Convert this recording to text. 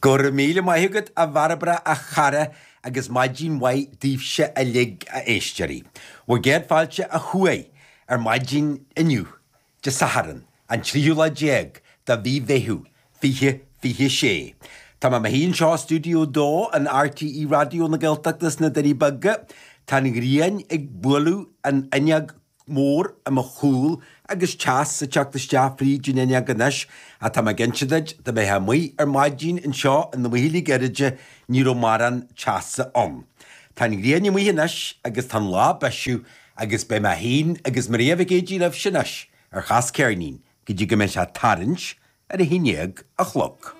Go raibh míle maith agat, a Bhairbre, a chara, agus maidin mhaith daoibhse uilig, a éisteoirí. Bhur gcéad fáilte ó thuaidh ar maidin inniu, Dé Sathairn, an tríú lá déag de mhí Mheitheamh, 2026. Tá mé i mo shuí anseo i Stiúideo 2 in RTÉ Raidió na Gaeltachta sna Doirí Beaga. Tá an ghrian ag bualadh an fhuinneog mhór i mo chúl agus teas ag teacht isteach fríd an fhuinneog anois ach tá mé ag inse duit, dá mbeifeá amuigh ar maidin anseo in amuigh le gairid, ní raibh mórán teasa ann. Tá an ghrian amuigh anois agus tá an lá ag bisiú agus beidh mé féin agus Maria Mhic Géidigh libhse anois ar Chas Ceirnín go dtí go mbeidh sé tarraingt ar a haon dhéag a chlog.